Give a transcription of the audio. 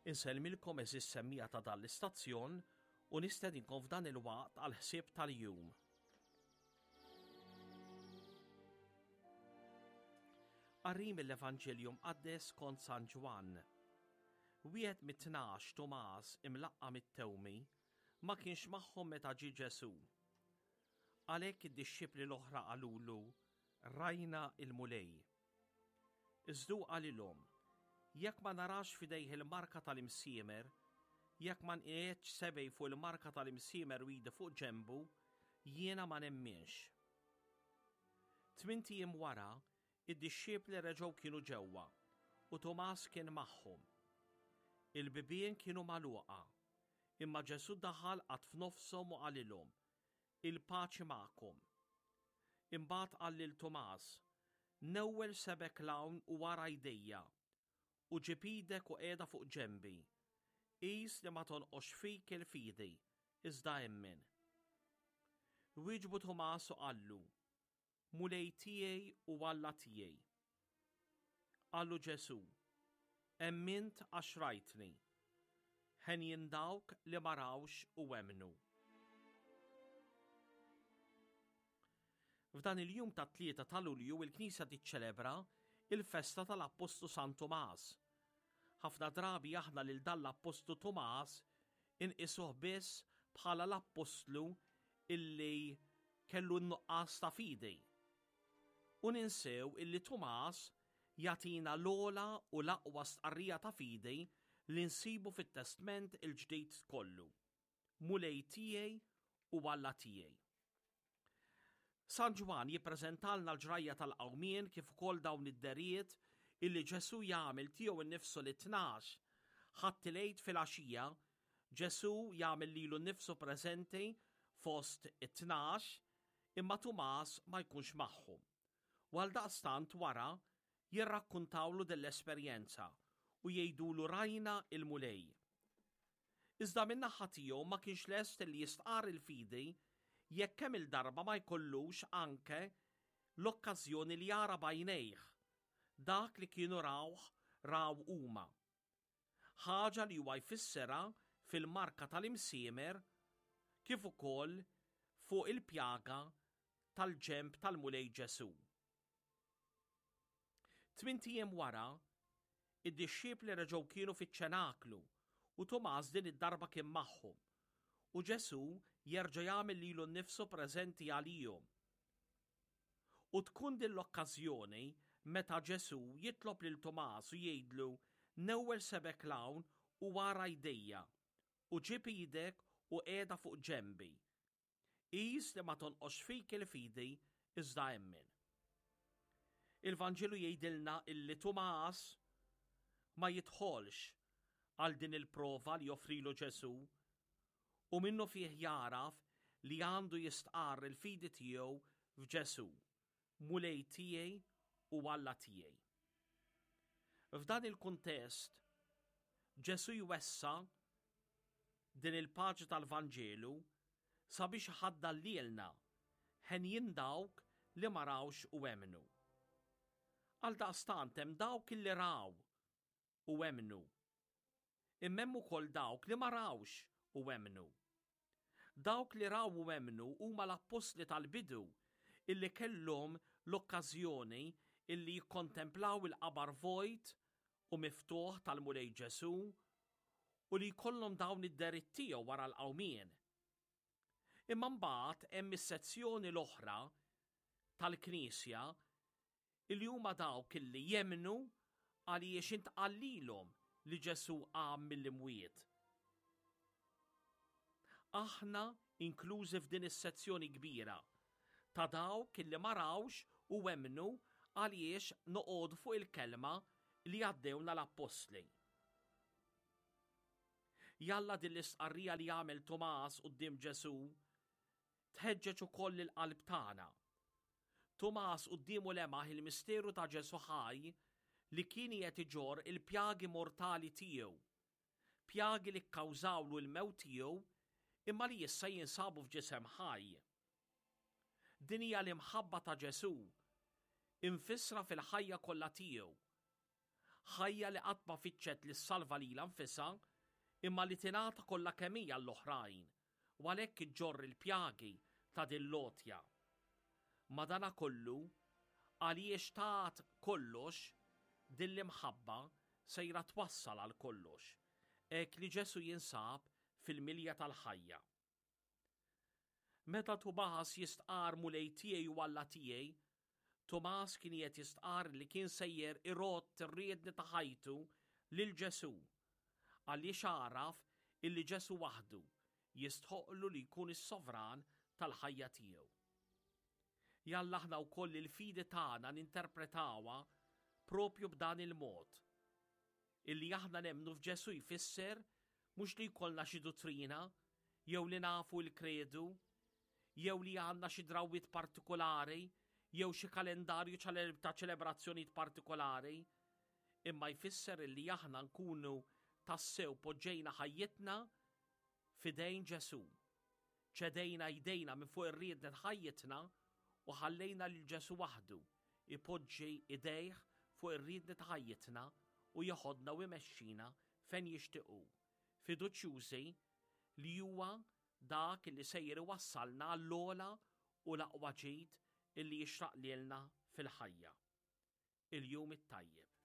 Insellmilkom eżis semmija ta' dan l-istazzjon u nistedinkom f'dan il-waqt għal ħsieb tal-jum. Qari mill-Evanġelju mqaddes kont San Ġwann. Wieħed mit-tnax Tumas imlaqqa mit-tewmi ma kienx magħhom meta ġie Ġesù. Għalhekk id-dixxipli l-oħra qalulu, Rajna il-Mulej. Iżda hu qalilhom, Jekk ma narax f'idejh il-marka tal-imsiemer, jekk ma nqiegħedx sebgħi fuq il-marka tal-imsiemer u idi fuq ġenbu, jiena ma nemminx. Tmint ijiem wara, id-dixxipli reġgħu kienu ġewwa, u Tumas kien magħhom. Il-bibien kienu magħluqa, imma Ġesù daħal qagħad f'nofshom u qalilhom, Il-paċi magħkom. Imbagħad qal lil Tumas, Newwel sebgħek 'l hawn u ara jdejja, u ġib idek u qiegħda fuq ġenbi. Qis li ma tonqosx fik il-fidi, iżda emmen. Wieġbu Tumas u qallu, Mulej tiegħi u Alla tiegħi. Qallu Ġesù, Emmint għax rajtni. Henjin dawk li ma rawx u emmnu. F'dan il-jum tat-Tlieta ta' Lulju il-Knisja tiċċelebra il-festa tal-Appostlu San Tumas. Ħafna drabi aħna lil dan l-Appostlu Tumas inqisuh biss bħala l-appostlu illi kellu n-nuqqas ta' fidi. U ninsew illi Tumas jagħtina l-ogħla u l-aqwa stqarrija ta' fidi li nsibu fit-Testment il-Ġdid kollu. Mulej tiegħi u Alla tiegħi. San Ġwann jippreżentalna l-ġrajja tal-qawmien kif ukoll dawn id-derijiet illi Ġesù jagħmel tiegħu nnifsu lit-tnax. Ħadd il-Għid filgħaxija, Ġesù jagħmel lilu nnifsu preżenti fost it-tnax imma Tumas ma jkunx magħhom. U għaldaqstant wara jirrakkuntawlu din l-esperjenza u jgħidulu rajna il-Mulej. Iżda min-naħa tiegħu ma kienx lest li jistqarr il-fidi jekk kemm-il darba ma jkollux anke l-okkażjoni li jara b'għajnejh dak li kienu rawh raw huma. Ħaġa li huwa jfissirha fil-marka tal-imsiemer kif ukoll fuq il-pjaga tal-ġenb tal-Mulej Ġesù. Tmint ijiem wara, id-dixxipli reġgħu kienu fiċ-ċenaklu u Tumas din id-darba kien magħhom. U Ġesù jerġa' jagħmel lilu nnifsu preżenti għalihom. U tkun din l-okkażjoni meta Ġesù jitlob lil Tumas u jgħidlu newwel sebgħek 'l hawn u ara jdejja, u ġib idek u qiegħda fuq ġenbi. Qis li ma tonqosx fik il-fidi iżda emmen. Il-Vanġelu jgħidilna illi Tumas ma jidħolx għal din il-prova li joffrilu Ġesù u minnu fih jagħraf li għandu jistqarr il-fidi tiegħu f'Ġesù, Mulej tiegħi u Alla tiegħi. F'dan il-kuntest, Ġesù jwessa' din il-paġna tal-Vanġelu sabiex iħaddan lilna, henjin dawk li ma rawx u emmnu. Għaldaqstant hemm dawk illi raw u emmnu. Imma hemm ukoll dawk li ma rawx u emmnu. Dawk li raw u emmnu huma l-appostli tal-bidu illi kellhom l-okkażjoni illi jikkontemplaw il-qabar vojt u miftuħ tal-Mulej Ġesù u li jkollhom dawn id-deritt tiegħu wara l-qawmien. Imma mbagħad hemm is-sezzjoni l-oħra tal-Knisja illi huma dawk illi jemmnu għaliex intqal lilhom li Ġesù qam mill-imwiet. Aħna inklużi f'din is-sezzjoni kbira ta' dawk illi ma rawx u emmnu għaliex noqogħdu fuq il-kelma li għaddewna l-appostli. Jalla din l-istqarrija li għamel Tumas quddiem Ġesù tħeġġeġ ukoll il-qalb tagħna. Tumas quddiemu lemaħ il-misteru ta' Ġesù ħaj li kien qiegħed iġorr il-pjagi mortali tiegħu, pjagi li kkawżawlu l-mewt tiegħu imma li issa jinsabu f'ġisem ħaj. Din hija l-imħabba ta' Ġesù, imfissra fil-ħajja kollha tiegħu. Ħajja li qatt ma fittxet li ssalva lilha nfisha, imma li tingħata kollha kemm hi għall-oħrajn, u għalhekk iġġorr il-pjagi ta' din l-għotja. Madanakollu, għaliex tat kollox, din l-imħabba sejra twassal għal kollox, hekk li Ġesù jinsab fil-milja tal-ħajja. Meta Tumas jistqarr Mulej tiegħi u Alla tiegħi, Tumas kien qiegħed jistqarr li kien sejjer irodd ir-riedni ta' ħajtu lil Ġesù, għaliex għaraf illi Ġesù waħdu jistħoqqlu li jkun is-sovran tal-ħajja tiegħu. Jalla aħna wkoll il-fidi tagħna ninterpretawha propju b'dan il-mod. Illi aħna nemmnu f'Ġesù jfisser mhux li jkollna xi duttrina jew li nafu l-kredu jew li għandna xi drawwiet partikolari jew xi kalendarju ta' ċelebrazzjonijiet partikolari, imma jfisser illi aħna nkunu tassew poġġejna ħajjitna f'idejn Ġesù. Ċedejna jdejna minn fuq ir-riednet ħajjitna u ħallejna lil Ġesù waħdu jpoġġi idejh fuq ir-riedni ta' ħajjitna u jeħodna u jmexxina fejn jixtieq hu, fiduċjużi li huwa dak li sejjer iwassalna għall-ogħla u l-aqwa ġid illi jixraq lilna fil-ħajja. Il-jum it-tajjeb.